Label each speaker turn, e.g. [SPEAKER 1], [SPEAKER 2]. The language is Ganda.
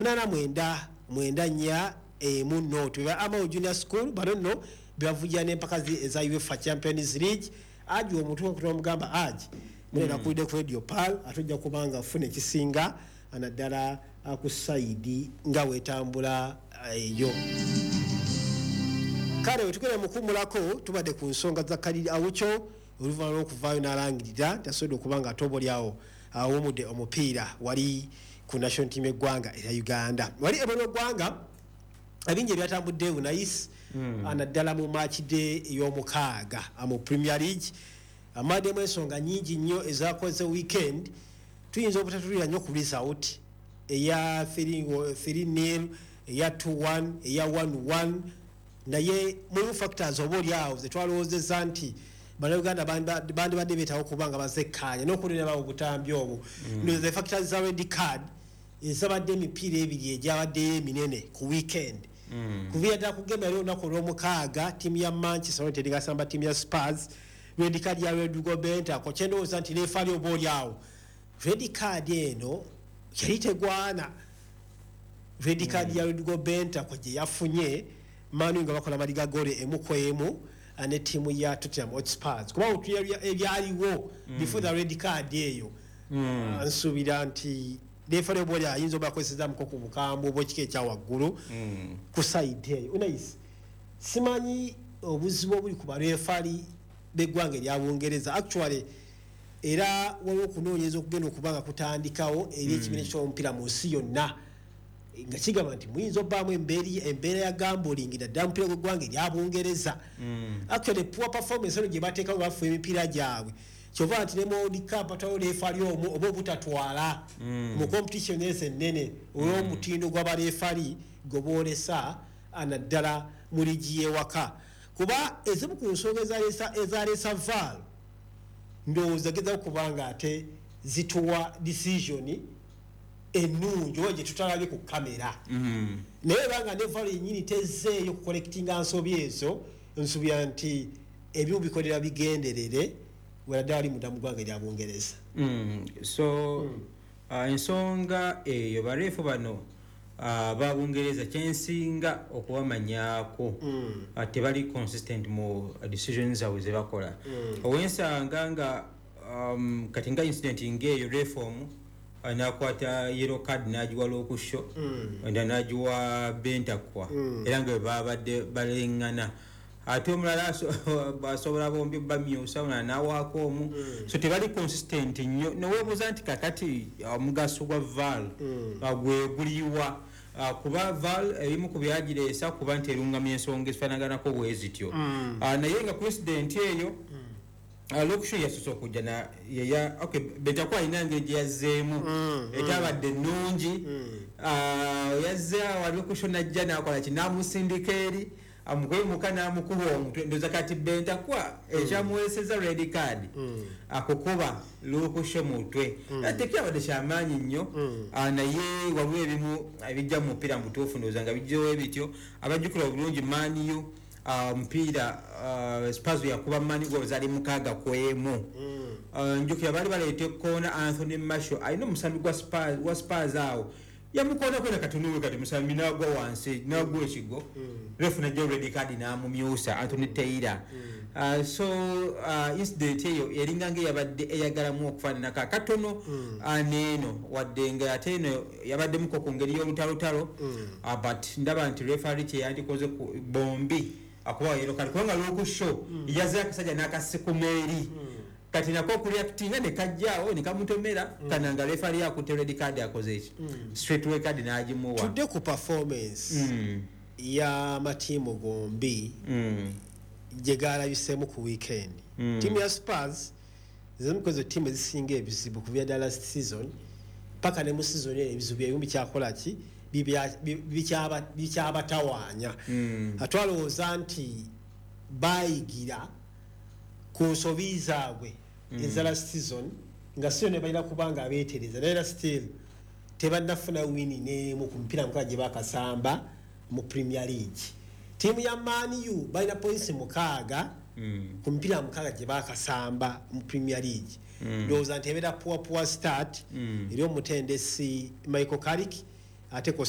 [SPEAKER 1] 89 94 1 0. Ba Amao Junior School bano nno bebavugira n'empaka eza UEFA Champions League. Aji omuntu okutomugamba aji munena kulidde ku Radio Pal, ate ojja kubanga ofuna ekisinga naddala ku sayidi nga wetambula eyo. Kale wetugenda mukumulako, tubadde ku nsonga za Kaliri Awuco oluvannyuma lw'okuvaayo n'alangirira nti asobodde okuba nga ate oba oliawo awumudde omupiira wali ku national team eggwanga erya Uganda. Wali ebweru eggwanga ebingi ebyatambudde unais, naddala mu match day ey'omukaaga mu Premier League, amaddemu ensonga nyingi nnyo ezakoze weekend. Tuyinza obutatulira nnyo ku result eya 3-0, eya 2-1, eya 1-1, naye mulimu factors oba oliawo zetwalowoozezza nti Bannayuganda bandibadde beetawo okuba nga bazekkaanya n'okulirabawo obutambi obwo. Ndowooza factors za red card ezabadde emipiira ebiri egyabaddeyo eminene ku weekend, kuviira ddala ku game yali olunaku olwomukaaga, ttiimu ya Manchester United ngasamba ttiimu ya Spurs, red card ya Rodrigo Bentancur. Kyendowooza nti referee oba oli awo red card eno yali tegwana, red card ya Rodrigo Bentancur gye yafunye Man U nga bakola maliga gole 1-1 ne ttiimu ya Tottenham Hotspurs, kuba otulira ebyaliwo before the red card eyo. Nsuubira nti referee oba oli ayinza oba akozesezamuko ku bukambwe obwekika ekyawaggulu ku side eyo. Unais, simanyi obuzibu obuli ku bareferee b'eggwanga erya Bungereza. Actually era waliwo okunoonyereza okugenda okuba nga kutandikawo eri ekibiina ky'omupiira mu nsi yonna, nga kigamba nti muyinza obbaamu embeera ya gambling naddala mupiira gw'eggwanga erya Bungereza. Actually poor performance eno gye bateekawo, bafuba emipiira gyabwe, kyova nti ne mu World Cup batwalawo referee omu oba obutatwala mu competition ezo ennene olw'omutindo gw'abareferee gwe boolesa naddala mu liigi y'ewaka, kuba ezimu ku nsonga ezaleesa VAR ndowooza gezaako kubanga ate zituwa decision ennungi oba gye tutalabye ku kamera. Naye ebanga ne VAR yennyini tezzeeyo kucorrectinga nsobi ezo, nsuubira nti ebimu bikolera bigenderere wenaddala ali munda mu ggwanga erya Bungereza.
[SPEAKER 2] So ensonga eyo, barefu bano ba Bungereza, kyensinga okubamanyaako, tebali consistent mu decisions zaabwe zebakola. Owensanga nga kati nga incident ngaeyo, ref omu nakwata yellow card nagiwa Luke Shaw, endala nagiwa Bentancur, era nga bwe babadde baleŋŋana, ate omulala asobola bombi bamyusa, omulala nawaako omu. So tebali consistent nnyo, neweebuuza nti kakati omugaso gwa VAR gwe guliwa? Kuba VAR ebimu ku byagireesa kuba nti erungamya ensonga ezifaanaganako bwe zityo. Naye nga president eyo, Luke Shaw yasoose okujja na yeya, okay, Bentancur alina engeri gye yazzeemu etabadde ennungi. Yazze awo, Luke Shaw najja nakola ki, namusindika eri amukwemuka namukuba omutwe. Ndoza kati Bentancur ekyamuweeseza red card akukuba Luke Shaw mutwe. Tekyabadde kyamaanyi nnyo. Naye waliwo ebimu ebijja mu mupiira mubutuufu, ndowooza nga bijjawo ebityo. Abajjukira obulungi Man U, omupiira Spurs yakuba Man U zaali 6-1. Njukira baali baleeta ekkoona, Anthony Martial alina omusambi gwa Spurs awo yamukoonako na katono kati musambi nagwa wansi nagwa ekigo, ref najja red card n'amumyusa Anthony Taylor. So incident eyo eringa nga eyabadde eyagalamu okufaananako akatono neeno, wadde nga ate eno yabaddemuko ku ngeri y'olutalotalo. But ndaba nti referee kyeyandikoze ku bombi akubawa yellow card, kubanga Luke Shaw yaze akasajja n'akasikuma eri, kati nako okureactinga ne kajjaawo ne kamutomera kana nga referee akutte red card, akoze eki, straight red card n'agimuwa.
[SPEAKER 1] Tudde ku performance y'amatiimu gombi gye galabiseemu ku weekend. Ttiimu ya Spurs zimu ku ezo ttiimu ezisinga ebizibu kuva ddala last season paka ne mu season eno, ebizibu ebimu bikyakola ki, bikyabatawaanya. Atwalowooza nti bayigira ku nsobi zaabwe eza last season, nga si yonna balina kubanga abeetereza, naye era still tebannafuna win n'emu ku mipiira 6 gye bakasamba mu Premier League. Ttiimu ya Man U balina points 6 ku mipiira 6 gye bakasamba mu Premier League. Ndowooza nti ebeera poor start eri omutendesi Michael Carrick. Ate ko